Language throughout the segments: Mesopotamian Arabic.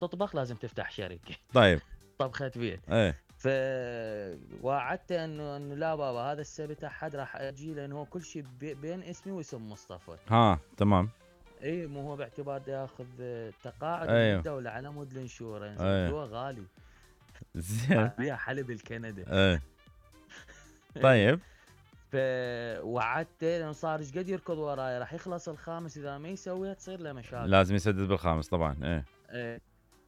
تطبخ لازم تفتح شركة طيب طبخة بيت. فوعدته انه لا بابا هذا السبت احد راح اجي، لانه هو كل شيء بين اسمي واسم مصطفى. تمام. اي مو هو باعتبار ياخذ تقاعد من الدولة على مود الانشورنس، هو غالي. زين. بيها حلب الكندا. طيب. فوعدته لانه صار ايش قد يركض وراي، راح يخلص الخامس، اذا ما يسويها تصير له مشاكل. لازم يسدد بالخامس طبعا.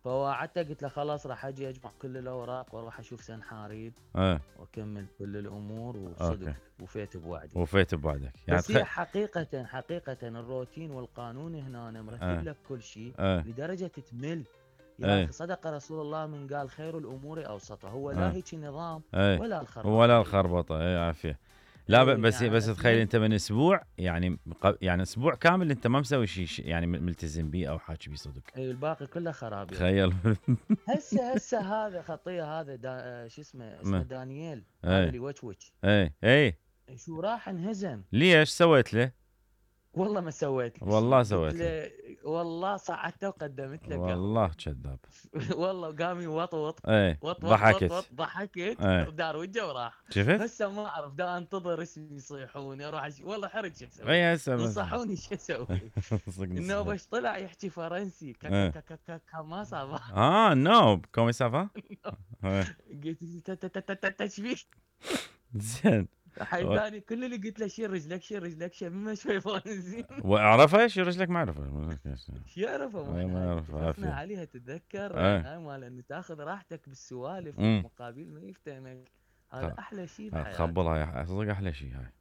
فوعدته قلت له خلاص راح اجي اجمع كل الاوراق واروح اشوف سنحاريب واكمل كل الامور، وصدق وفيت بوعدك. يعني بس هي حقيقة الروتين والقانون هنا مرتب لك كل شيء لدرجة تمل. يا اخي صدق رسول الله من قال خير الامور اوسطها. هو لا هيك نظام ولا الخربطه عافيه. لا بس يعني بس تخيل انت من اسبوع يعني اسبوع كامل انت ما مسوي شيء يعني ملتزم بيه او حاكي بيه صدق. الباقي كله خراب. تخيل. هسه هذا خطيه، هذا شو اسمه دانييل، هذا اللي وتش. شو راح انهزم. ليش سويت له؟ والله ما سويت. والله سويت له. والله صعدته وقدمت له. والله كذاب. والله قام يوطوط. ضحكت. ودار وجهه وراح. شفت؟ هسه ما اعرف، دا انتظر اسمي يصيحوني اروح والله حرج شو اسوي. هسه نصحوني شو اسوي. انه باش طلع يحكي فرنسي ما صار. نو كومي سافا. قلت تشبيك. زين. حيداني كل اللي قلت له شيل رجلك ما شوي فرنسي. وعرفه شيل رجلك ما عرفه. شو يعرفه ما يعرفه. عليها تتذكر هاي مال انه تاخذ راحتك بالسوالف مقابل ما يفتهمك. هذا احلى شيء بحياتك. خبلها صدق احلى شيء هاي.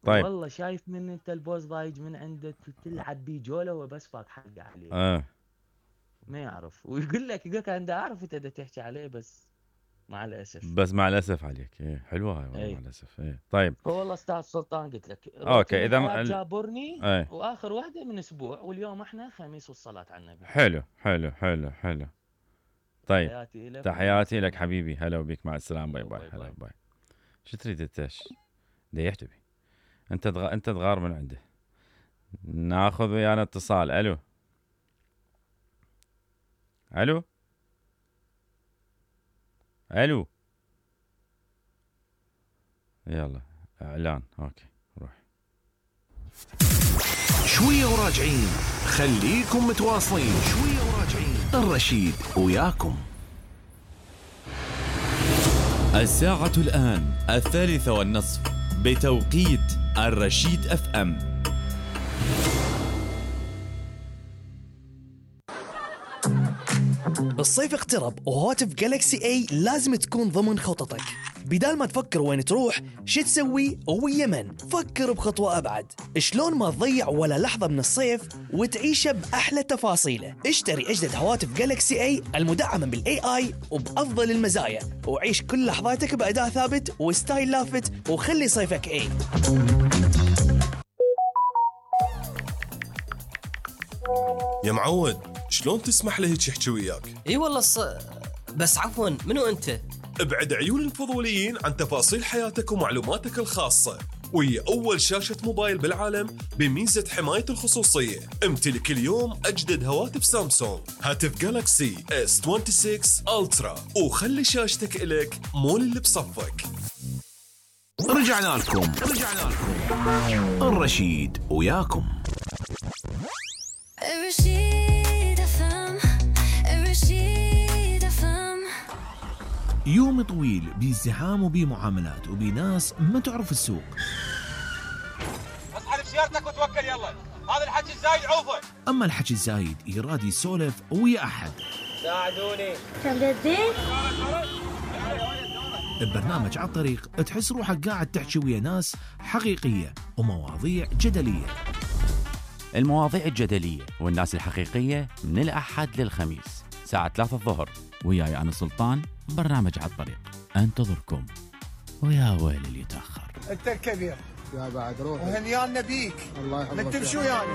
طيب والله شايف من انت البوز ضايج من عندك تلعب بيه جوله وبس فاك حق عليه. ما يعرف ويقول لك انا اعرف انت تحكي عليه بس مع الاسف عليك. حلوه هاي مع الاسف. طيب والله استاذ سلطان قلت لك اوكي اذا جابرني واخر واحده من اسبوع، واليوم احنا خميس والصلاه على النبي. حلو. طيب تحياتي لك حبيبي. هلا وبيك، مع السلامه. باي. هلا باي. شو تريد انت؟ يحتبي انت تغار من عنده. ناخذ ويانا اتصال. الو يلا اعلان. اوكي روح شويه وراجعين. خليكم متواصلين. شويه وراجعين. الرشيد وياكم. الساعة الآن 3:30 بتوقيت الرشيد FM. الصيف اقترب وهاتف جالكسي اي لازم تكون ضمن خططك. بدال ما تفكر وين تروح شو تسوي ويا من، فكر بخطوة أبعد. شلون ما تضيع ولا لحظة من الصيف وتعيشه بأحلى تفاصيله. اشتري أجدد هواتف جالكسي اي المدعمة بالاي اي وبأفضل المزايا، وعيش كل لحظاتك بأداء ثابت وستايل لافت، وخلي صيفك اي. يا معود شلون تسمح له هيك يحكي وياك؟ اي والله بس عفوا منو انت؟ ابعد عيون الفضوليين عن تفاصيل حياتك ومعلوماتك الخاصة، وهي أول شاشة موبايل بالعالم بميزة حماية الخصوصية. امتلك اليوم أجدد هواتف سامسونج، هاتف جالكسي S26 ألترا، وخلي شاشتك إلك مول اللي بصفك. رجعنا لكم. الرشيد وياكم. يوم طويل بازدحام وبمعاملات وبناس ما تعرف السوق. اسحب سيارتك وتوكل يلا، هذا الحكي الزايد عوفه. اما الحكي الزايد يراد يسولف ويا احد. ساعدوني. ببرنامج على الطريق تحس روحك قاعد تحكي ويا ناس حقيقية ومواضيع جدلية. المواضيع الجدلية والناس الحقيقية من الأحد للخميس ساعة 3 الظهر، وياي أنا سلطان. برنامج على الطريق انتظركم، ويا ويل اللي يتأخر. انت الكبير يا بعد روح وهنيان نبيك. الله يحفظك. ما تمشوا يعني.